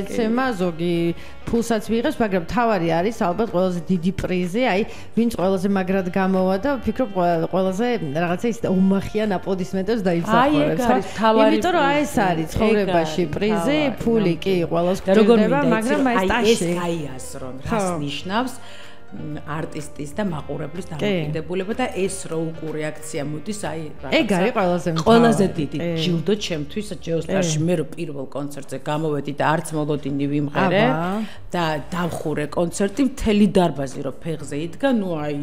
ეცემა ზოგი ფულსაც მიიღებს, მაგრამ თავარი არის ალბათ ყველაზე დიდი პრიზი, აი ვინც ყველაზე მაგრად გამოვა და ვფიქრობ ყველაზე რაღაცა ის უმახიან აპლოდისმენტებს დაიმსახურებს. იმიტომ რომ აი ეს არის ცხოვრებაში პრიზი, ფული კი ყველას გვჭირდება, მაგრამ აი ეს გაიაზრონ, რას ნიშნავს არტისტის და მაყურებლის დამოკიდებულება და ეს რო უკუ რეაქცია მოდის აი ეგ არის ყველაზე დიდი ჯილდო ჩემთვის ჯეოსტარში მე რო პირველ კონცერტზე გამოვედი და არც მოლოდინი ვიმღერე და დავხურე კონცერტი მთელი დარბაზი რო ფეხზე იდგა ნუ აი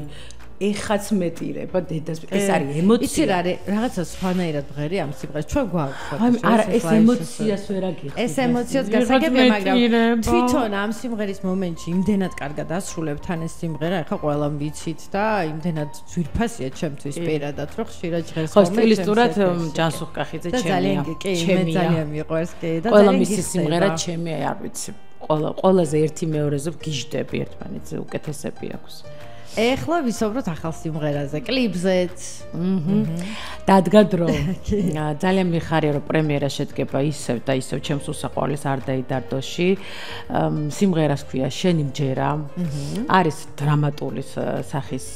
ეხაც მეტირება დედას ეს არის ემოცია იცი რა არის რაღაცა სხვანაირად ბღერი ამ სიმღერას ჩვენ გვაქვს არა ეს ემოციას ვერ აგიხდი ეს ემოციას გასაგებია მაგრამ თვითონ ამ სიმღერის მომენტში იმდენად კარგად ასრულებ თან ეს სიმღერა ეხა ყველამ ვიცით და იმდენად ძვირფასია ჩემთვის პირადად რომ ხშირად ჟღერს ხო სტილისტურად ჯანსუღ კახიძე ჩემია მე ძალიან მიყვარს კი და ყველა მისი სიმღერა ჩემია არ ვიცი ყველაზე ერთი მეორეზე გიჟდები ერთმანეთზე უკეთესები აქვს ეხლა ვისაუბროთ ახალ სიმღერაზე, კლიპზეც. დადგა დრო. ძალიან მიხარია რომ პრემიერა შედგება ისევ და ისევ ჩემს უსაყვარლეს არ დაიდარდოში. სიმღერას ქვია შენი მჯერა. არის დრამატული სახის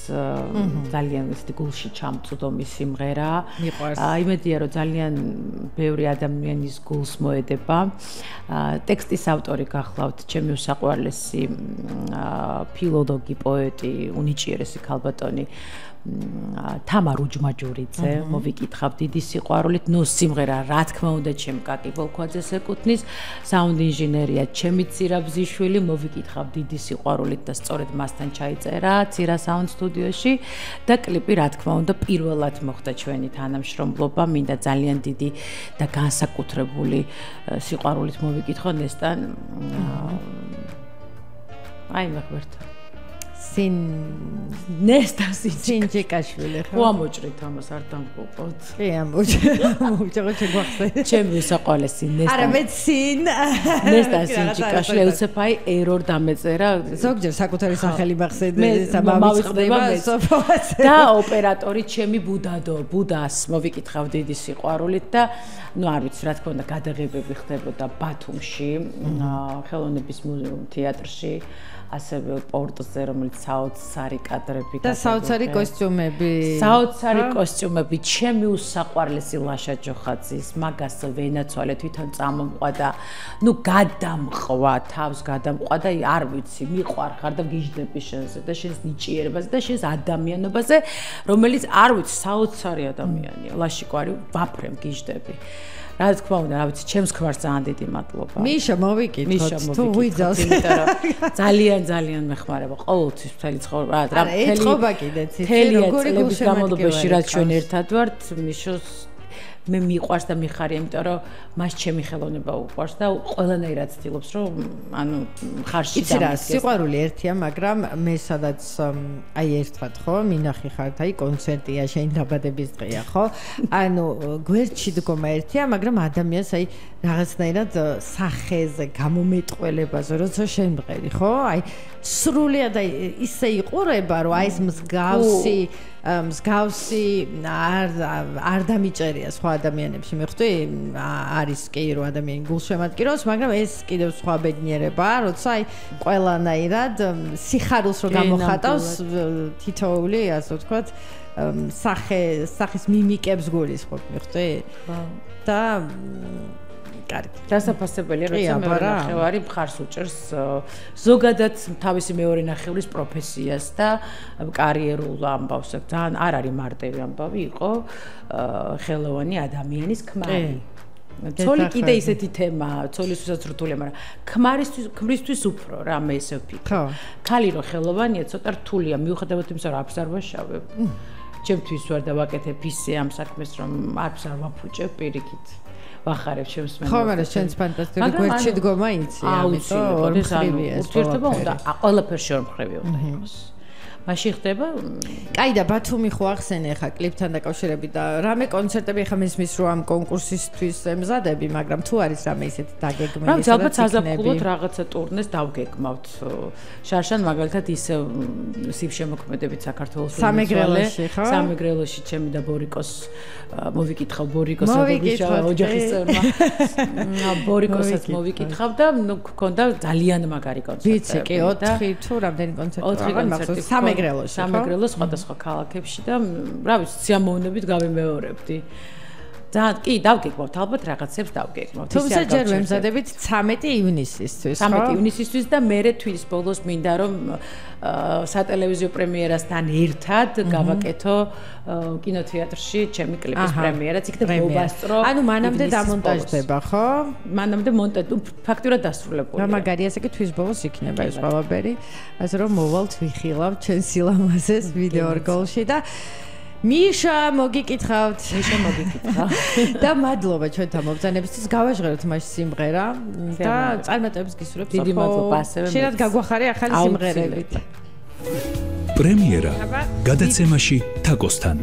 ძალიან ისეთი გულში ჩამწვდომი სიმღერა. იმედია რომ ძალიან ბევრი ადამიანის გულს მოედება. ტექსტის ავტორი გახლავთ ჩემი უსაყვარლესი ფილოლოგი პოეტი ნიჭიერესი ქალბატონი თამარ უჯმაჯურიძე მოვიკითხავ დიდი სიყვარულით ნუ სიმღერა რა თქმა უნდა ჩემ კაკი ბოლქვაძეს ეკუთვნის საუნდ ინჟინერია ჩემი ცირაბზიშვილი მოვიკითხავ დიდი სიყვარულით და სწორედ მასთან ჩაიწერა ცირა საუნდ სტუდიოში და კლიპი რა თქმა უნდა პირველად მოხდა ჩვენი თანამშრომლობა მინდა ძალიან დიდი და განსაკუთრებული სიყვარულით მოვიკითხო ნესტან აი მეგობრებო სინ ნესტასი სინჯიკაშვილი ხო ამოჭრით ამას არ დამყოფოთ კი ამოჭრით შეგვახსენე ჩემი უსაყვარლესი ნესტა არა მე სინ ნესტასი სინჯიკაშვილი უცებაი ერორ დამეწერა ზოგჯერ საკუთარი სახელი მახსენე სამავიწყდება სოფოას და ოპერატორი ჩემი ბუდას მოვიკითხავ დიდი სიყვარულით და ნუ არ ვიცი რა თქმა უნდა გადაღებები ხდებოდა ბათუმში ხელოვნების თეატრში ასევე პორტზე რომელიც საოცარი კადრები და საოცარი კოსტიუმები ჩემი უსაყვარლესი ლაშა ჯოხაძის მაგას ვენაცვალე თვითონ წამომყვა და ნუ გადამყვა თავს გადამყვა და არ ვიცი მიყვარხარ და გიჟდები შენზე და შენს ნიჭიერებაზე და შენს ადამიანობაზე რომელიც არ ვიცი საოცარი ადამიანია ლაშიკვარი ვაფრემ გიჟდები რა თქმა უნდა, რა ვიცი, ჩემს ქმარს ძალიან დიდი მადლობა. მიშა მოვიკითხოთ, თუ ვიძავს, იმიტომ რომ ძალიან მეხმარება ყოველთვის მთელი ცხოვრება. რა ეთყობა კიდეც, როგორი გულშემატკივარი რაც ჩვენ ერთად ვართ, მიშოს მე მიყვარს და მიხარია, იმიტომ რომ მას ჩემი ხელოვნება უყვარს და ყველანაირად ცდილობს, რომ ანუ ხარში დამდგეს. იცი რა, სიყვარული ერთია, მაგრამ მე სადაც აი ერთად ხო, მინახი ხართ, აი კონცერტია, შენ დაბადების დღეა, ხო? ანუ გვერდში დგომა ერთია, მაგრამ ადამიანს აი რაღაცნაირად სახეზე, გამომეტყველებაზე, როცა შენ მღერი, ხო? აი სრულიად აი ისე იყურება, რომ აი ეს მსგავსი არ დამიჭერია სხვა ადამიანებში მეხტი არის კი რომ ადამიანი გულშემატკივრობს მაგრამ ეს კიდევ სხვა ბედნიერებაა როცა აი ყველანაირად სიხარულს რო გამოხატავს თითოეული ასე ვთქვათ სახის მიმიკებს გულისხმობ მეხტი და კარგი. დასაფასებელია, როცა მეორე ნახევარი მხარს უჭერს ზოგადად თავისი მეორე ნახევრის პროფესიას და კარიერულ ამბავს. ძალიან არ არის მარტივი ამბავი იყო ხელოვანი ადამიანის ქმარი. ცოლი კიდე ისეთი თემაა, ცოლისთვისაც რთულია, მაგრამ ქმრისთვის უფრო რა მე ესე ვფიქრობ. ქალი რო ხელოვანია, ცოტა რთულია, მიუხედავად იმისა, რომ არც არ ვაშავებ. ჩემთვის ვარ და ვაკეთებ ისე ამ საქმეს, რომ არც არ ვაფუჭებ პირიქით. ვახარებ ჩემს მენელს. ხო, მაგრამ შენს ფანტასტიკური გვერდში დგომა იცი, ამიტომ ურთიერთობა უნდა ყველაფერში ორმხრივი უნდა იყოს. მაშინ ხდება კაი და ბათუმი ხო ახსენე ხა კლიპთან დაკავშირებით და რამე კონცერტები ხა მისმის რომ ამ კონკურსისთვის ემზადები, მაგრამ თუ არის რამე ისეთი დაგეგმილი, რა ვიცი, ალბათ საზაფხულოდ რაღაცა ტურნეს დავგეგმავთ. შარშან მაგალითად ისე სიბშემოქმედებით საქართველოს სამეგრელოში ხო? სამეგრელოში ჩემი და ბორიკოს მოვიკითხავ ბორიკოს ოჯახის წევრმა. ბორიკოსაც მოვიკითხავ და ნუ გქონდა ძალიან მაგარი კონცერტები. ვიცი კი 4 თუ რამდენი კონცერტი კონცერტი სამეგრელოში სამეგრელოს სხვადასხვა ქალაქებში და რა ვიცი სიამოვნებით გავიმეორებდი. ძალიან კი დავგეგმავთ ალბათ რაღაცებს დავგეგმავთ. თუმცა ჯერ ვემზადებით 13 ივნისისთვის, ხო? 13 ივნისისთვის და მერე თვის ბოლოს მინდა რომ სატელევიზიო პრემიერასთან ერთად გავაკეთო კინოთეატრში ჩემი კლიპის პრემიერაც, იქ და მოვასწრო. ანუ მანამდე დამონტაჟდება, ხო? მანამდე ფაქტურად დასრულებულია. რა მაგარი ასე კი თვის ბოლოს იქნება ეს ყველაფერი. ასე რომ მოვალთ ვიხილავთ ჩვენ სილამაზეს ვიდეო რგოლში და მიშა მოგიკითხავთ. და მადლობა ჩვენთან მობრძანებისთვის. გავაჟღეროთ მაშინ სიმღერა და წარმატებებს გისურვებთ. დიდი მადლობა ასევე. შეიძლება გაგვახარე ახალი სიმღერებით. პრემიერა გადაცემაში თაკოსთან.